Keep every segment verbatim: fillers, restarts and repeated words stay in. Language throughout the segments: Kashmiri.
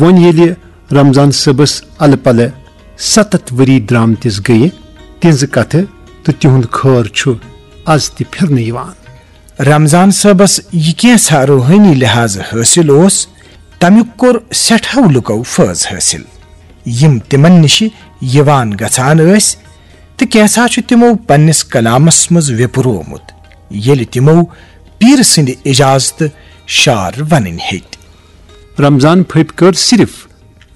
وۄنۍ ییٚلہِ رمضان صٲبس الہٕ پلہٕ ستتھ ؤری درامتِس گٔیہِ، تِہنٛزٕ کتھٕ تہٕ تِہُنٛد خٲر چھُ از تہِ پھِرنہٕ یِوان۔ رمضان صٲبس یہِ کینٛژھا روحٲنی لحاظہٕ حٲصِل اوس، تمیُک کوٚر سٮ۪ٹھاہ لُکو فٲض حٲصِل، یِم تِمن نِشہِ یِوان گژھان ٲسۍ، تہٕ کینٛژھا چھُ تِمو پننِس کلامس منٛز ویپروومُت، ییٚلہِ تِمو پیٖرٕ سٕنٛدِ اجازتہٕ شعر ونٕنۍ ہیٚتۍ۔ رمضان پھٔپۍ کٔر صرف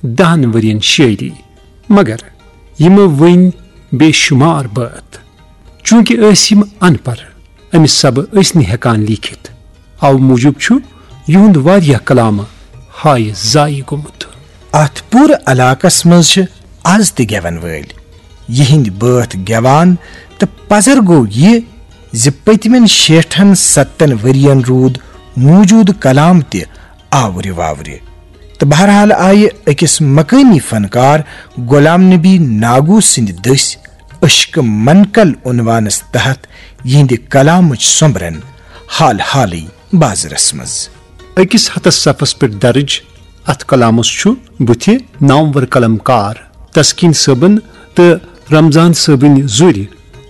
دہن ؤرین شٲعری، مگر یِمو ؤنۍ بے شمار بٲتھ۔ چونکہ ٲسۍ یِم ان پڑھ، امہِ سبہٕ ٲسۍ نہٕ ہٮ۪کان لیٖکھِتھ، اوٕ موٗجوٗب چھُ یِہُنٛد واریاہ کلامہٕ ہایہِ ضایع گوٚمُت۔ اتھ پوٗرٕ علاقس منٛز چھِ از تہِ گٮ۪ون وٲلۍ۔ یِہنٛدۍ بٲتھ گٮ۪وان تہٕ پزر گوٚو یہِ زِ پٔتمٮ۪ن شیٹھن ستن ؤرین روٗد موٗجوٗدٕ کلام تہِ آورِ واورِ۔ تہٕ بہرحال آیہِ أکِس مقٲمی فنکار غلام نبی ناگو سٕنٛدِ دٔسۍ عشق منقل عنوانس تحت یِہنٛدِ کلامٕچ سۄمبرن حال حالٕے بازرس منٛز۔ أکِس ہتس صفس پٮ۪ٹھ درج اتھ کلامس چھُ بُتھِ نامور قلم کار تسکین صٲبن تہٕ رمضان صٲبٕنۍ زُرۍ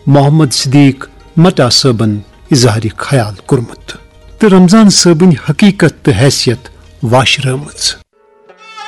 محمد صدیق مٹا صٲبن اظہارِ خیال کوٚرمُت تہٕ رمضان صٲبٕنۍ حقیقت تہٕ حیثیت واشرٲومٕژ۔